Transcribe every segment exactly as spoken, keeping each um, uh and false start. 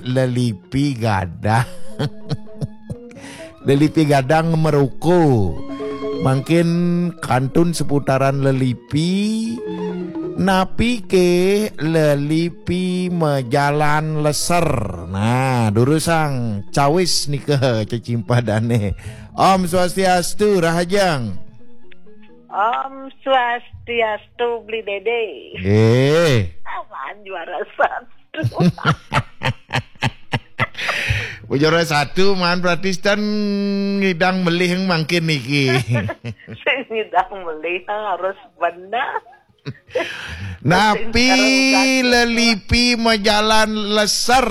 Lelipi gadang. Lelipi gadang meruku. Mangkin kantun seputaran lelipi. Napi ke lelipi majalan leser. Nah, durusang cawis nika cecimpadane. Om Swastiastu, Rahajeng. Om Swastiastu, Beli Dede. Eh. Aman juara satu. Juara satu, man, berarti ten ngidang melih mangkin niki. Sing ngidang melih harus bener. Napi lelipi majalan leser?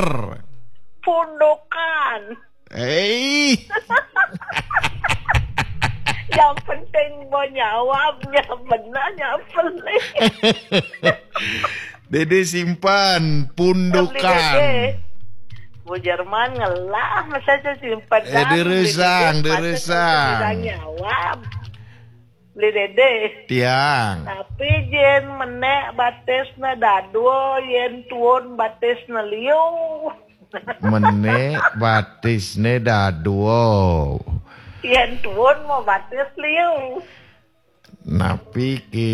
Pundukan. Hei. Yang penting mau nyawabnya benar, yang penting. Dede simpan pundukan. Dede. Bu Jerman ngelah, masa saya simpan. Eh, dah, durusang, Beli Dede, masa durusang. Saya nyawab. Beli Dede. Tiang. Tapi yen menek batisne dadua, yen tuun batisne liu. Menek batisne dadua. Yen tuun mau batis liu. Napi ke?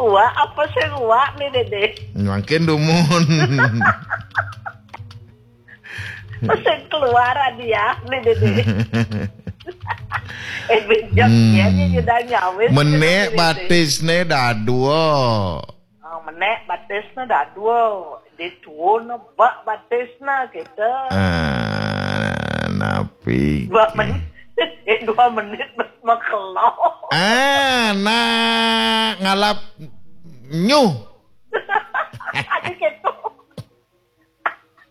Uwak apa sing uwak nih, Dede? Mangkin dumun. Sing keluar hadiah nih, Dede. Eh, bejek. Hmm. Ya, ya, ya, udah nyawis. Menek gitu, Dede. Batisne dadua. Ah, menek batisne dadua. Dituun bak batisne gitu. Ah, napi? Dua menit. Eh, dua menit makelo. Ah, nah, ngalap nyuh. Ada gitu.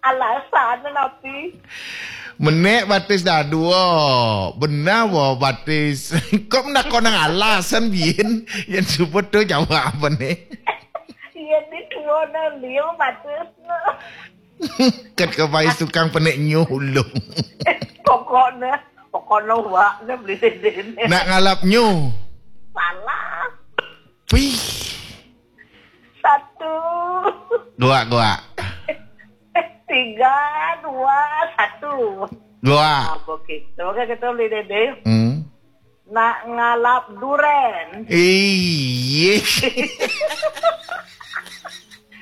Alasan napi? Menek batis dadua. Benar wa batis. Kok menakon nang alasan, biyen? Yang sebut tu jawab apa nih? Iya, di dua nang dia batis. Kat ke pais tukang penek nyulung. Pokoknya, pokoknya wak ne beli dede ne. Nak ngalap nyu. Salah. Pih. Satu. Gua, gua. Tiga, dua, satu. Gua. Nah, begitu. Oke, kita beli dede. Hmm. Nak ngalap duren. Iya.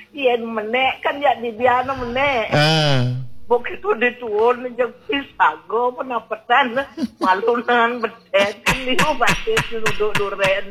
Yen menek kan ya di biana menek. Ah. Begitu dituun jeung pisago penapetan malunan bedet kan liu batis duduk duren.